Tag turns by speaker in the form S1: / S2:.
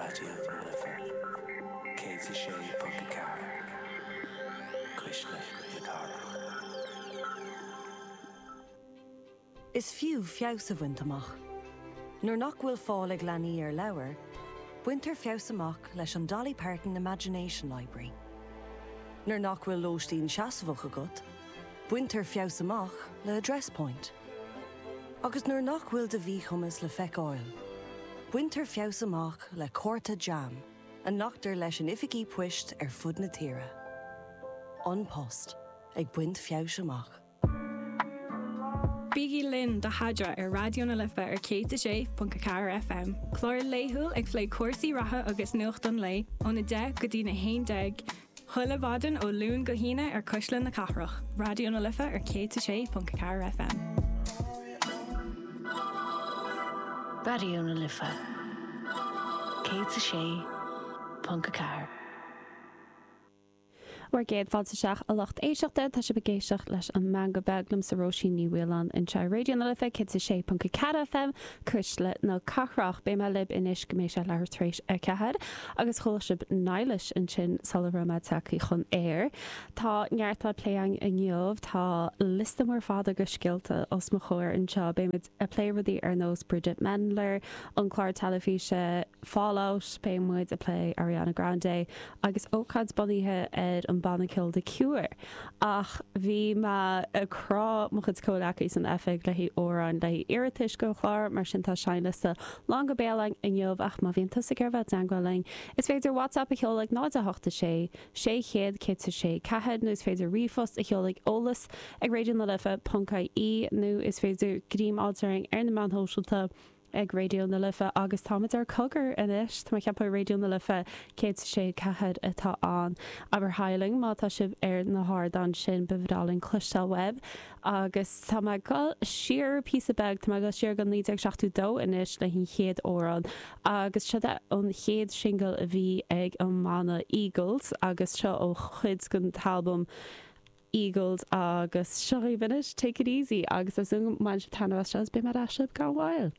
S1: Raidió na Life 106.4, Cuisle na Cathrach.
S2: Is fiú feabhas a bhaint amach. Nuair nach bhfuil fáil ag leanaí ar leabhair, baintear feabhas amach leis an Dolly Parton Imagination Library. Nuair nach bhfuil lóistín seasmhach agat, baintear feabhas amach le Address Point. Agus nuair nach bhfuil do mhíchumas le feiceáil, baintear feabhas amach le cárta JAM a nglactar leis in oifigí poist ar fud na tíre. An Post, ag baint feabhais amach.
S3: Bígí linn do Theadra ar Raidió na Life ar 106.4 FM, clár laethúil ag plé cúrsaí reatha agus nuacht an lae óna 10 go dtí na 11 chuile mhaidin ó Luan go hAoine ar Cuisle na Cathrach, Raidió na Life ar 106.4 FM.
S4: Raidió na Life 106.4.
S5: Bhur gcéad fáilte isteach a lucht éisteachta, tá sibh ag éisteacht leis an Meangadh Beag liomsa Róisín Ní Mhaoláin anseo ar Raidió na Life 106.4 FM, Cuisle na Cathrach. Beidh mé libh anois go mbeidh sé leathuair tar éis a 4 agus chuala sibh Nihilish ansin sula raibh mé tagtha chun aeir. Tá neart le plé againn inniu, tá liosta mór fada de scéalta os mo chomhair anseo. Beidh muid ag plé rudaí ar nós Bridget Mendler, an clár teilifíse Fallout, beidh muid ag plé Ariana Grande agus ócáid bunaithe ar an banna ceoil The Cure. Ach bhí mé ag crá mo chuid comhleacaí san oifig le haghaidh amhráin le haghaidh iarratais don chlár, mar sin tá seinnliosta lán go béal againn inniu ach má bhíonn tusa ag iarraidh bheith i dteangmháil linn, is féidir WhatsApp a sheoladh ag 0 8 6 600 106 4 nó is féidir ríomhphost a sheoladh ag eolas ag raidionalife ponc ie nó is féidir greim a fháilt orainn ar na meáin shóisialta ag Raidió na Life agus táimid ar Cogar anois, tá mé ag ceapadh Raidió na Life 106 4 atá ann. Abair haigh linn má tá sibh ar na hardáin sin, ba bhreá linn cloisteáil uaibh. Agus tá mé ag dul siar píosa beag, tá mé ag dul siar go 1972 anois le an chéad amhrán agus seo é an chéad singil a bhí ag an mbanna Eagles agus seo ó chuid den t-albam Eagles agus seo dhaoibh anois Take It Easy agus tá súil agam go mbainfidh sibh taitneamh as seo agus beidh mé ar ais libh gan mhoill.